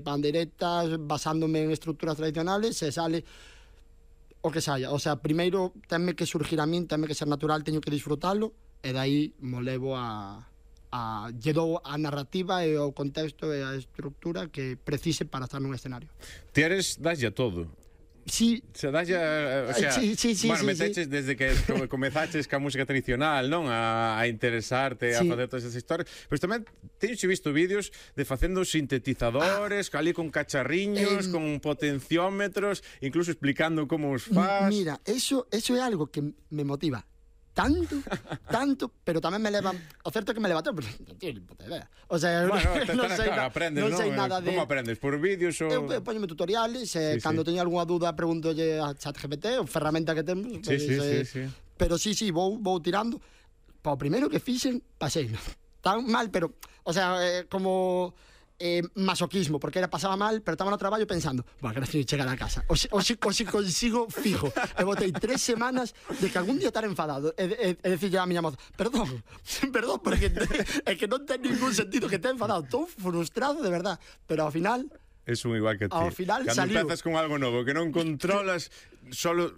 pandeiretas, basándome en estructuras tradicionales, se sale o que saia. O sea, primeiro tenme que surgir a min, tenme que ser natural, teño que disfrutalo, e dai mo levo lle dou a narrativa e o contexto e a estructura que precise para estar nun escenario. Ti eres, daslle a todo. Sí. Se daslle, o sea, sí, bueno, meteches desde que comezaches ca música tradicional, non? A interesarte, a facer todas esas historias. Pero tamén teño visto vídeos de facendo sintetizadores, ali con cacharriños, con potenciómetros, incluso explicando como os faz. Mira, eso é algo que me motiva tanto, pero tamén me leva, o certo é que me leva todo, pero non teño ni puta idea. O sea, non sei nada de... Como aprendes? Por vídeos ou... Eu poñome tutoriales, cando teño algunha dúda pregúntolle a ChatGPT, ou ferramenta que temos. Sí. Pero sí, vou tirando. Pa o primeiro que fixen, pasei tan mal, pero, o sea, como... masoquismo, porque pasaba mal, pero estaba no traballo pensando, bueno, que non chegar a casa o si consigo fijo, e botei 3 semanas de que algún día estar enfadado e decirle a miña moza, perdón, porque é que non ten ningún sentido que esté enfadado, estou frustrado de verdad, pero ao final es un igual que ti. Ao final cando saliu. empezas con algo novo que non controlas, solo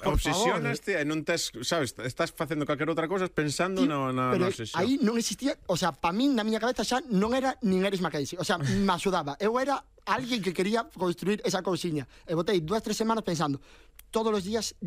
obsesionaste e non tes, sabes, estás facendo calquera outra cosa pensando na obsesión. Pero aí non existía, o sea, pa min na miña cabeza xa non era nin Eris Mackenzie, o sea, me axudaba. Eu era alguén que quería construir esa cousiña. E botei 2-3 semanas pensando todos os días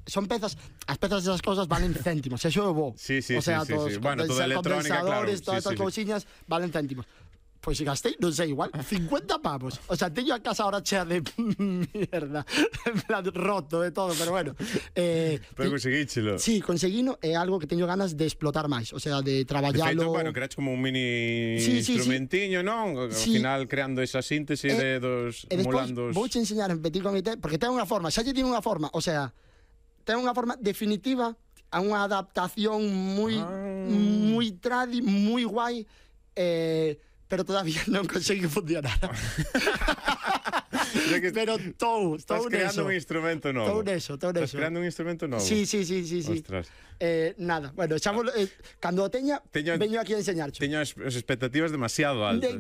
son pezas, as pezas desas cousas valen céntimos, eso é bo. Sí. O sea, todos bueno, toda electrónica, claro. Todas estas cousiñas valen céntimos. Pois gastei, non sei, igual 50 pavos. O sea, teño a casa ahora chea de mierda, en plan roto de todo, pero bueno. Pero conseguíchelo. Sí, conseguino, é algo que teño ganas de explotar máis, o sea, de traballalo. De feito, bueno, creaste como un mini instrumentiño, non? Ao final creando esa síntese de dos emulandos. Vouche enseñar en petit comité, porque ten unha forma, xa lle tiene unha forma, o sea, ten unha forma definitiva a unha adaptación moi tradi, moi guai, pero todavía non consegui funcionar. Pero estou estás creando un instrumento novo. Estou neso. Estás creando un instrumento novo. Sí. Ostras. Nada, bueno, cando o teña, veño aquí a enseñarcho. Teño as expectativas demasiado altas.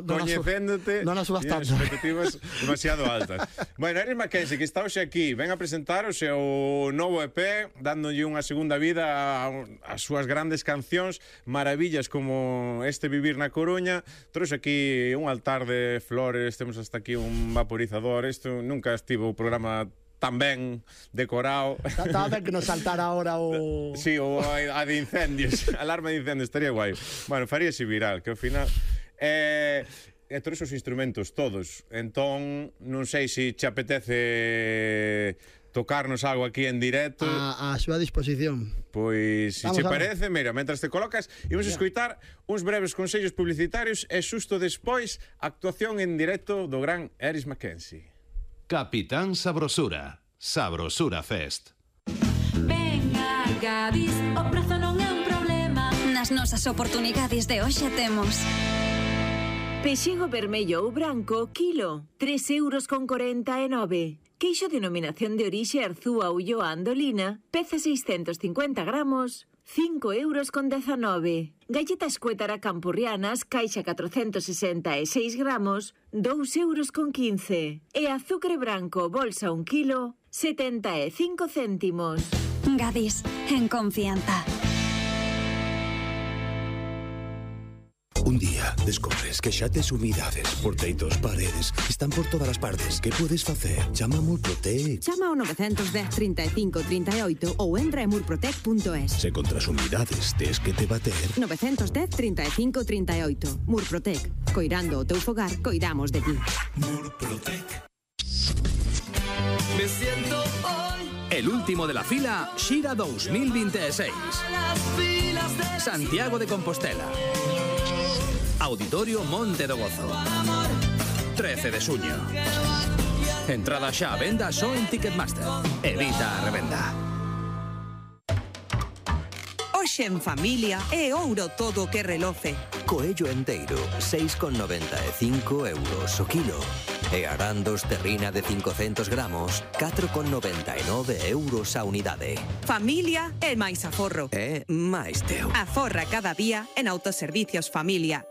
Coñecéndote, non as subas tanto. Expectativas demasiado altas. Bueno, Eris Mackenzie, que está hoxe aquí, ven a presentar o seu novo EP, dándolle unha segunda vida ás súas grandes cancións, maravillas como este Vivir na Coruña. Trouxe aquí un altar de flores, temos hasta aquí un vaporizador. Isto nunca estivo o programa tan ben decorado. Estaba ben que nos saltara ahora o... Sí, o a de incendios. Alarma de incendios, estaría guai. Bueno, faríase viral, que ao final... todos os instrumentos, todos. Entón, non sei se te apetece tocarnos algo aquí en directo. A súa disposición. Pois, se che parece, mira, mentras te colocas, imos escoitar uns breves consellos publicitarios e xusto despois a actuación en directo do gran Eris Mackenzie. Capitán Sabrosura, Sabrosura Fest. Venga, Gadis, o prezo non é un problema. Nas nosas oportunidades de hoxe temos pexego vermello ou branco, kilo, 3,49 €. Queixo denominación de orixe Arzúa Ulloa Andolina, peza 650 gramos, 5,19 €. Galletas Cuétara Campurrianas, caixa 466 gramos, 2,15 €. E azúcar branco, bolsa 1 kilo, 75 céntimos. Gadis, en confianza. Un día descobres que xa tes humidades por teitos, paredes, están por todas as partes. Que podes facer? Chama a Murprotec. Chama ao 910 35 38 ou entra en murprotec.es. Se contra as humidades tes que te bater... 910 35 38. Murprotec. Coirando o teu fogar, coidamos de ti. Murprotec. Me siento hoy el último de la fila Xira 2026. Santiago de Compostela. Auditorio Monte do Gozo. 13 de xuño. Entrada xa a venda só en Ticketmaster. Evita a revenda. Hoxe en familia é ouro todo que reloce. Coello enteiro, 6,95 € o kilo. E arandos terrina de 500 gramos, 4,99 € a unidade. Familia é máis aforro. É máis teu. Aforra cada día en Autoservicios Familia.